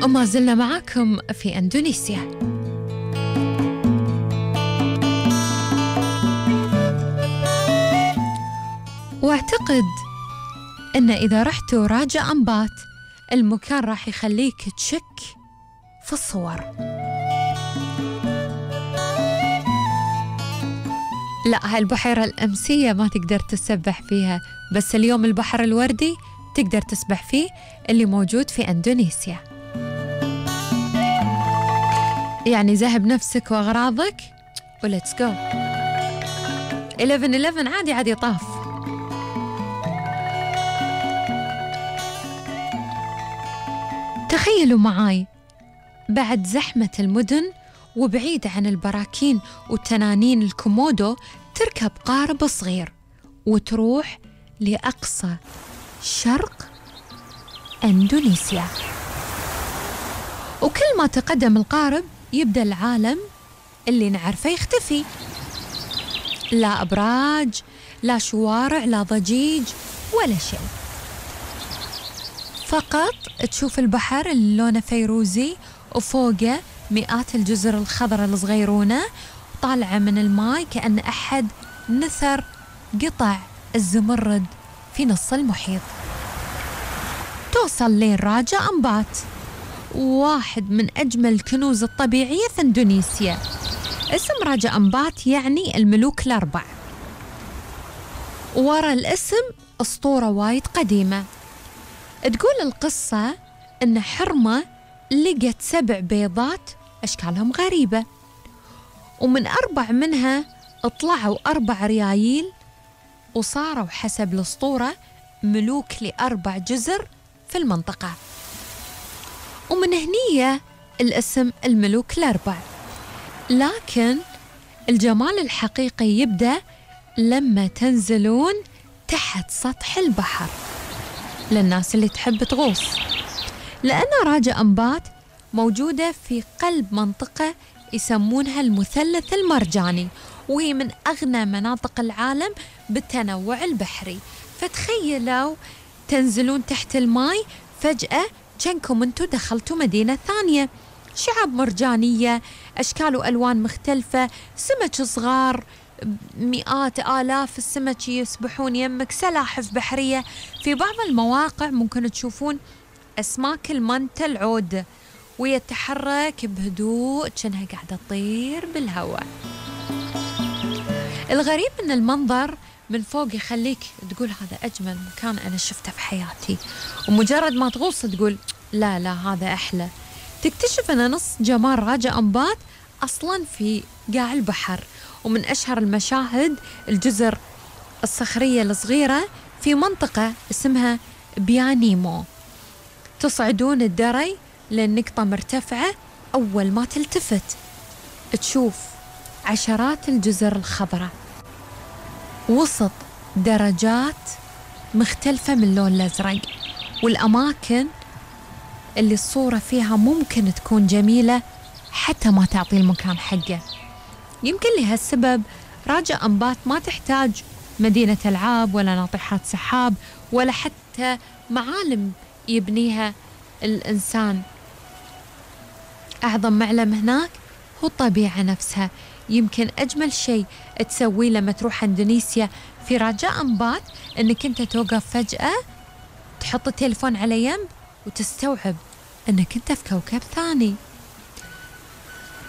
وما زلنا معاكم في أندونيسيا. واعتقد إن إذا رحتوا راجا أمبات المكان راح يخليك تشك في الصور. لا، هالبحيرة الأمسية ما تقدر تسبح فيها، بس اليوم البحر الوردي تقدر تسبح فيه اللي موجود في أندونيسيا. يعني ذهب نفسك وأغراضك وليتس جو. 11 عادي طاف. تخيلوا معاي بعد زحمة المدن وبعيد عن البراكين والتنانين الكومودو تركب قارب صغير وتروح لأقصى شرق أندونيسيا. وكل ما تقدم القارب يبدأ العالم اللي نعرفه يختفي. لا أبراج، لا شوارع، لا ضجيج ولا شيء، فقط تشوف البحر اللي لونه فيروزي وفوقه مئات الجزر الخضراء الصغيرونة طالعة من الماء كأن أحد نثر قطع الزمرد في نص المحيط. توصل لين راجا أمبات، واحد من أجمل الكنوز الطبيعية في إندونيسيا. اسم راجا أمبات يعني الملوك الأربع. ورا الاسم أسطورة وايد قديمة تقول القصة إن حرمة لقت 7 بيضات أشكالهم غريبة، ومن 4 منها طلعوا 4 ريايل وصاروا حسب الأسطورة ملوك ل4 جزر في المنطقة، ومن هنية الاسم الملوك الأربع. لكن الجمال الحقيقي يبدأ لما تنزلون تحت سطح البحر للناس اللي تحب تغوص، لأن راجا أمبات موجودة في قلب منطقة يسمونها المثلث المرجاني، وهي من أغنى مناطق العالم بالتنوع البحري. فتخيلوا تنزلون تحت الماء فجأة كأنكم انتوا دخلتوا مدينة ثانية، شعاب مرجانية، أشكال وألوان مختلفة، سمك صغار، مئات آلاف السمك يسبحون يمك، سلاحف بحرية. في بعض المواقع ممكن تشوفون أسماك المنتل العود ويتحرك بهدوء كأنها قاعدة تطير بالهواء. الغريب أن المنظر من فوق يخليك تقول هذا أجمل مكان أنا شفته في حياتي، ومجرد ما تغوص تقول لا هذا أحلى. تكتشف أن نص جمال راجا أمبات أصلا في قاع البحر، ومن أشهر المشاهد الجزر الصخرية الصغيرة في منطقة اسمها بيانيمو. تصعدون الدري للنقطة مرتفعة، أول ما تلتفت تشوف عشرات الجزر الخضراء وسط درجات مختلفة من اللون الأزرق، والأماكن اللي الصورة فيها ممكن تكون جميلة حتى ما تعطي المكان حقه. يمكن لهالسبب راجا أمبات ما تحتاج مدينة ألعاب ولا ناطحات سحاب ولا حتى معالم يبنيها الإنسان. أعظم معلم هناك هو الطبيعة نفسها. يمكن أجمل شيء تسويه لما تروح إندونيسيا في راجا أمبات أنك أنت توقف فجأة، تحط التليفون على ينب وتستوعب أنك أنت في كوكب ثاني.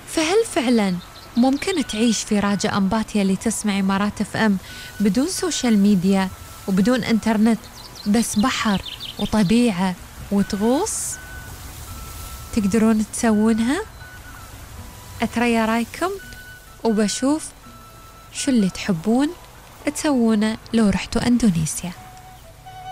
فهل فعلا ممكن تعيش في راجا أمبات اللي تسمع إمارات FM بدون سوشيال ميديا وبدون إنترنت، بس بحر وطبيعة وتغوص؟ تقدرون تسوونها؟ أتريا رايكم وبشوف شو اللي تحبون تسوونه لو رحتوا أندونيسيا.